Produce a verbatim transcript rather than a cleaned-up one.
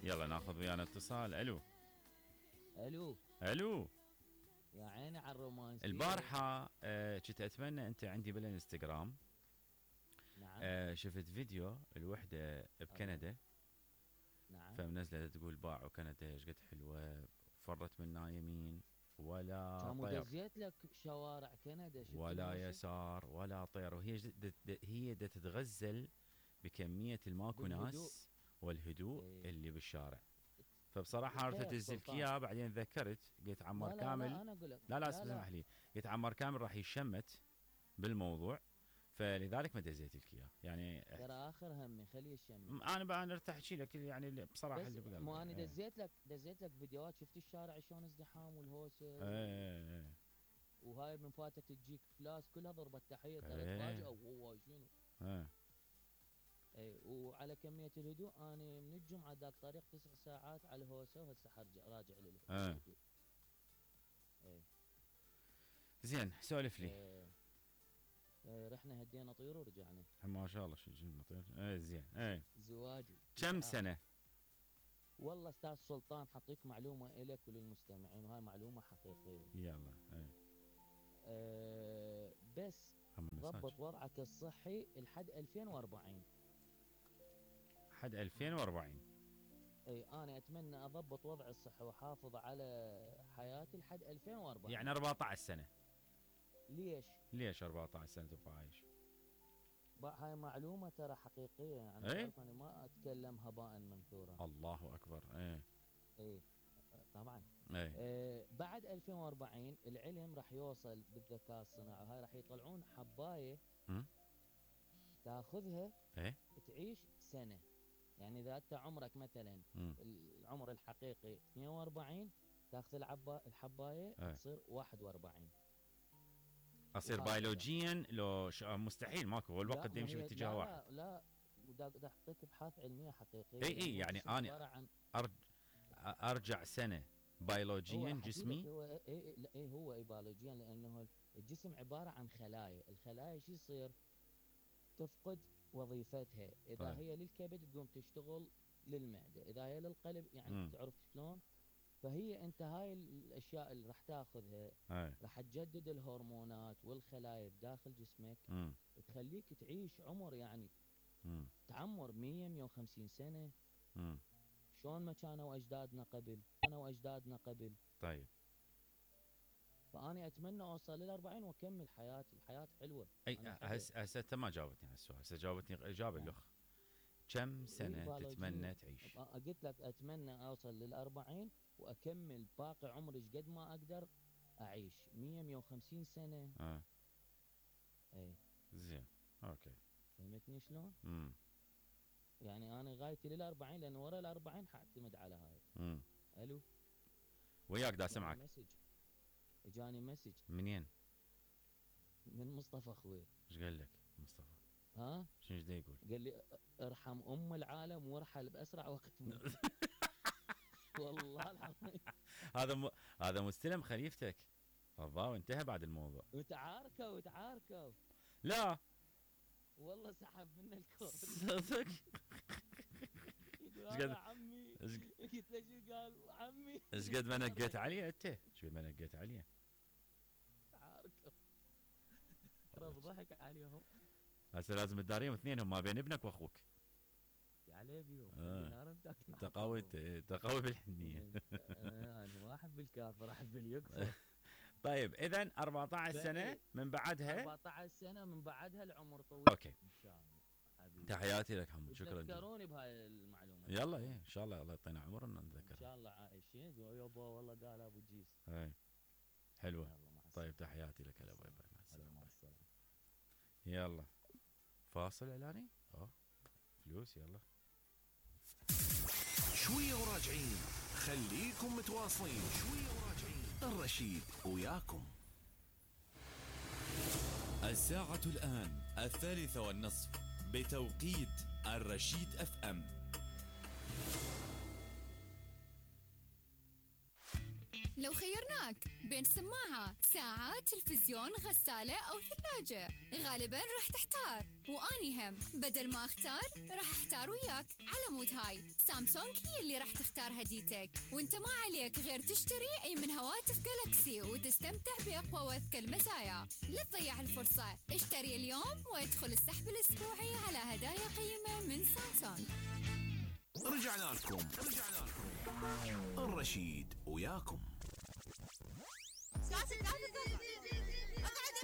يلا ناخذ ويانا اتصال. الو الو الو. يا عيني على الرومانسية. البارحة آه، كنت اتمنى انت عندي بالانستغرام. نعم. آه شفت فيديو الوحدة بكندا. نعم. فمنزلة تقول باعوا كندا ايش قد حلوة، فرت منا يمين ولا كانوا طير دزيت لك شوارع كندا، شفت ولا الموسم؟ يسار ولا طير، وهي جد د- هي دا تتغزل بكمية الماكو بالهدوء. ناس والهدوء ايه. اللي بالشارع. فبصراحة اريد تخيل انزل لك سلطان. اياه، بعدين تذكرت قلت عمار لا لا كامل. لا انا اقول لك لا لا لا اسمح لا لي، قلت عمار كامل راح يشمت بالموضوع، فلذلك ما دزيت لك اياه يعني. ترى اخر همي خليه يشمل. م- انا بقى انا ارتاح احكي لك يعني اللي- بصراحه بس اللي بقلبي. مو انا ايه. دزيت لك دزيت لك فيديوهات، شفت الشارع شلون ازدحام والهوسه ايه. و... ايه. وهاي من فاتت تجيك فلاس كلها ضربت تحيه، ترى ايه. تفاجئوا وهو شنو. ايه. اي وعلى كميه الهدوء انا من الجمعه داك طريق تسع ساعات على الهوسه، وهسه حرجع راجع ايه. للهدوء. اي. زين سولف لي. إيه. إيه رحنا هدينا طيور ورجعنا. ما شاء الله شو جبنا طير. ايه زين. ايه. زواجي كم تسعة. سنه؟ والله استاذ سلطان حطيك معلومه الك وللمستمعين، وهاي معلومه حقيقيه. يلا. ايه. أه بس هم ضبط المساج وضعك الصحي لحد ألفين وأربعين. حد ألفين وأربعين. اي انا اتمنى اضبط وضعي الصحي واحافظ على حياتي لحد ألفين وأربعين. يعني أربعة عشر سنه. ليش؟ ليش أربعة عشر سنه تبقى عايش؟ بقى هاي معلومه ترى حقيقيه، يعني ايه. تعرف انا ما اتكلم هباء منثورا. الله اكبر. ايه. اي طبعا. ايه. آه بعد ألفين وأربعين العلم راح يوصل بالذكاء الصناعي، هاي راح يطلعون حبايه م? تاخذها ايه. تعيش سنه. يعني اذا انت عمرك مثلا م. العمر الحقيقي اثنين وأربعين، تاخذ العبا الحبايه ايه. تصير واحد وأربعين. اصير وهكذا. بيولوجيا لو ش... مستحيل، ماكو، هو الوقت لا، دا ما يمشي هي- باتجاه لا واحد. لا لا ودا دا اعطيك ابحاث علميه حقيقيه. اي اي لأن هو يعني الجسم عباره انا عن أرج... ارجع سنه هو بيولوجيا أحكي لك جسمي. هو اي اي لا اي هو بيولوجيا، لانه الجسم عباره عن خلايا، الخلايا شو يصير؟ تفقد وظيفتها، اذا طيب. هي للكبد تقوم تشتغل للمعده، اذا هي للقلب يعني مم. تعرف شلون. فهي انت هاي الاشياء اللي راح تاخذها اي. راح تجدد الهرمونات والخلايا بداخل جسمك، امم. تخليك تعيش عمر يعني امم. تعمر مية مية وخمسين سنه. امم. شلون ما كانوا اجدادنا قبل، انا واجدادنا قبل. طيب. فاني اتمنى اوصل لل أربعين واكمل حياتي، الحياه حلوه. اي أنا حلو. هسه هسه انت ما جاوبتني على السؤال، هسه جاوبتني اجابه نعم. الاخ. كم سنه بيولوجيا. تتمنى تعيش؟ أ- قلت لك اتمنى اوصل لل أربعين واكمل باقي عمري ايش قد ما اقدر اعيش مية مية وخمسين سنه. اه. اي. زين. اوكي. فهمتني شلون؟ امم. يعني انا غايتي لل أربعين، لان ورا ال أربعين حاعتمد على هاي. امم. الو. وياك دا جاني سمعك. مسج. اجاني مسج منين؟ من مصطفى اخوي. ايش قال لك مصطفى؟ ها؟ شنو دا يقول؟ قال لي ارحم ام العالم وارحل باسرع وقت ممكن. والله العظيم. هذا م... هذا مستلم خليفتك. الضاو انتهى بعد الموضوع. وتعاركوا وتعاركوا. لا والله سحب منا الكود. صدق. يقول إيش هذا قد- عمي. ايش قلت له شو قال عمي؟ إيش قد ما نقيت عليه انت؟ ايش قد ما نقيت عليه؟ تعاركوا. رب ضحك عليهم. هسه لازم تداريهم اثنينهم ما بين ابنك واخوك. عليه بيهم. آه. نار بتاكل. انت قوي، انت قوي بالحنيه. انا ما احب الكافر، احب اليكفر. طيب اذا أربعة عشر سنه من بعدها. أربعة عشر سنه من بعدها العمر طويل. اوكي. ان شاء الله حبيبي. تحياتي لك حمد، شكرا جزيلا. تذكروني بهاي المعلومه. يلا ايه ان شاء الله، الله يعطينا عمر ان ان نتذكر. شاء الله عايشين. يابا والله قال ابو جيس. ايه حلوه. يلا مع السلامة. طيب تحياتي لك. هلا باي باي. مع هلا السلامه. مع السلامه. يلا فاصل اعلاني. اه فلوس. يلا شوية وراجعين، خليكم متواصلين. شوية وراجعين، الرشيد وياكم. الساعة الآن الثالثة والنصف بتوقيت الرشيد اف ام. لو خيرناك بين سماعة، ساعة، تلفزيون، غسالة أو ثلاجة، غالباً راح تحتار. واني هم بدل ما اختار راح اختار وياك. على مود هاي سامسونج هي اللي راح تختار هديتك، وانت ما عليك غير تشتري اي من هواتف جالكسي وتستمتع باقوى واذكى المزايا. لا تضيع الفرصة، اشتري اليوم وادخل السحب الاسبوعي على هدايا قيمة من سامسونج. رجعنا لكم رجعنا لكم الرشيد وياكم. اقعد